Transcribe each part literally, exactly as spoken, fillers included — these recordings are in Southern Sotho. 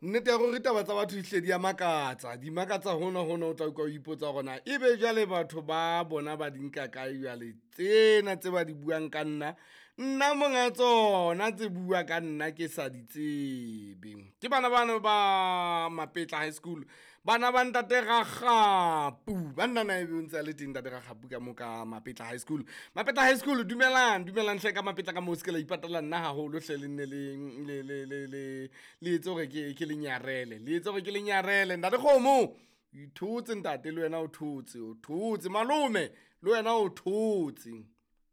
Nnete ya gore taba tsa batho dihle di a makatsa, di makatsa hona hona o tla utlwa o ipotsa hore na ebe jwale batho ba bona ba di nka kae jwale tsena tse ba di buang ka nna. Nna monga tsona tse bua ka nna ke sa di tsebe. Ke bana bano ba Mapetla High School, bana ba ntate Rakgapu. Banna na ebe o ntse a le teng ntate Rakgapu ka mo ka Mapetla High School. Mapetla High School dumelang, dumelang hle ka Mapetla ka moo se ke la ipatala nna haholo hle le nne le le le le le le etse hore ke ke le nyarele, le etse hore ke le nyarele. Ntate Kgomo o ithotse ntate le wena o thotse, o thotse malome le wena o thotse.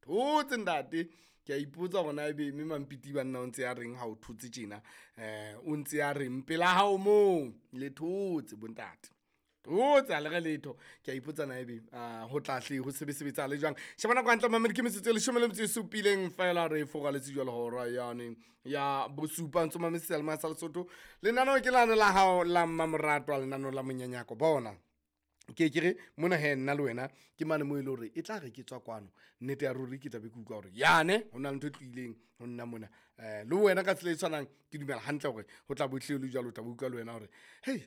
Thotse ntate. Ke a ipotsa hore na ebe mme Mampiti banna o ntse a reng ha o thotse tjena. Eh o ntse a reng pela hao moo le thotse bontate. Thotse ha le re letho. Ke a ipotsa na ebe ho tla hle ho sebe sebetsahale jwang. Sheba nako hantle mamedi ke metsotso e leshome le metso e supileng feela re furaletse jwale hora yane ya bosupa ntso mametse seyalemoya sa Lesotho. Lenaneo ke lane la hao la mmamoratwa lenaneo la monyanyako bona. Ke ke re mona hee nna le wena ke mane moo e le hore e tla re ke tswa kwano nnete ya ruri ke tla be ke utlwa hore yane ho na le ntho e tlohileng ho nna mona. Eh le wena ka tsela e tshwanang ke dumela hantle hore ho tla bo hlile ho le jwalo, o tla be utlwa le wena hore hei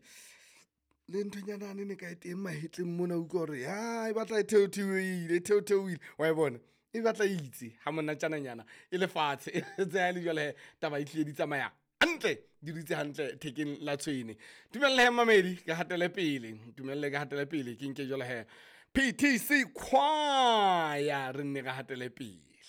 le nthonyana yane ne ka e teng mahetleng mona, utlwa hore ya e batla e theotheohile e theotheohile wa e bona. E batla e itse ha monatjananyana e le fatshe tse ha e le jwale hee taba e hlile di tsamaya hantle, di dutse hantle thekeng la tshwene. Dumelle hee mamedi ke hatele pele, ntumelle ke hatele pele ke nke jwale hee P T C choir re nne re hatele pele.